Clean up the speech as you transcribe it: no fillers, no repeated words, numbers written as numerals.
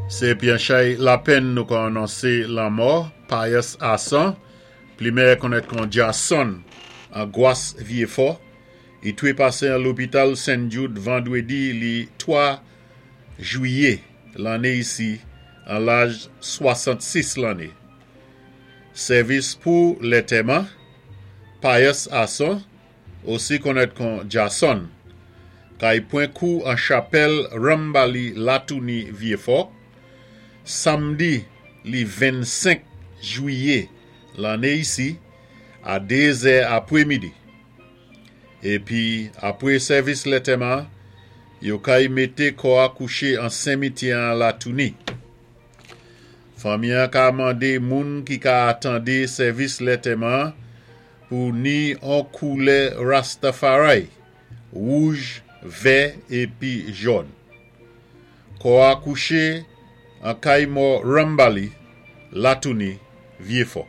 Sé épi an chay lapenn nou ka anonsé lanmò Pius Asson, pli méyè konnèt kon Jason, an Gwas Vyéfò. I twé pasé an lopital Sen Jude vandwédi li 3 jwiyé lanné isi an laj 66 lanné. Sèvis pou lètèman Pius Asson, osi konnèt kon Jason, kay pwan kou an chapèl Rambali Latouni Vyéfò, samdi li 25 jwiyé lanné isi a 2 zè apwémidi. Épi apwé sèvis lètèman, yo kay mété kò-a kouché an senmityè an Latouni. Fanmi-an ka mandé moun ki ka atandé sèvis lètèman pou ni an koulè Rastafari, wouj, vè épi jòn. Kò-a kouché an kay mò Rambali, Latouni, Vyéfò.